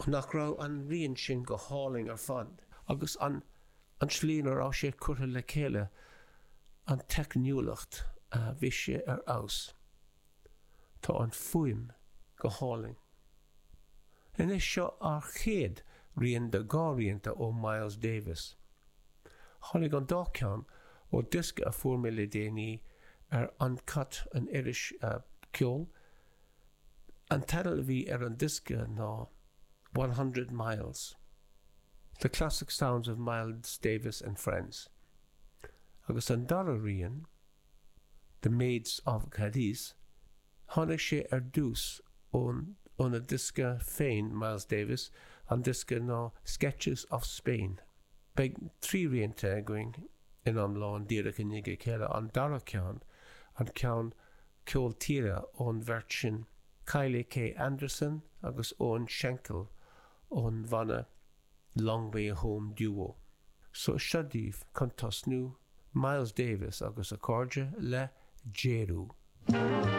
Nach raibh an rian sin go hálainn ar fad? Agus an an tslí ina raibh sé curtha le chéile, an teicniúlacht, bhí sé ar fheabhas. Tá an fuaim go hálainn. Anois seo ár chéad rian de dhá rianta ó Miles Davis. Tháinig an dá cheann ó diosca a fuair mé le déanaí ar Uncut, an iris ceoil. An teideal a bhí ar an diosca ná 100 Miles, The Classic Sounds of Miles Davis and Friends. Agus an dara rian, The Maids of Cadiz, tháinig sé ar dtús ón óna diosca féin Miles Davis, an diosca ná Sketches of Spain. Beidh 3 rianta againn in iomlán díreach i ndiaidh a chéile, an dara ceann, an ceann ceol tíre ón bheirt sin, Kylie K Anderson agus Owen Schenkel ón bhanna Long Way Home Duo. So seo daoibh, chun tosnú, Miles Davis agus a chairde le Jeru.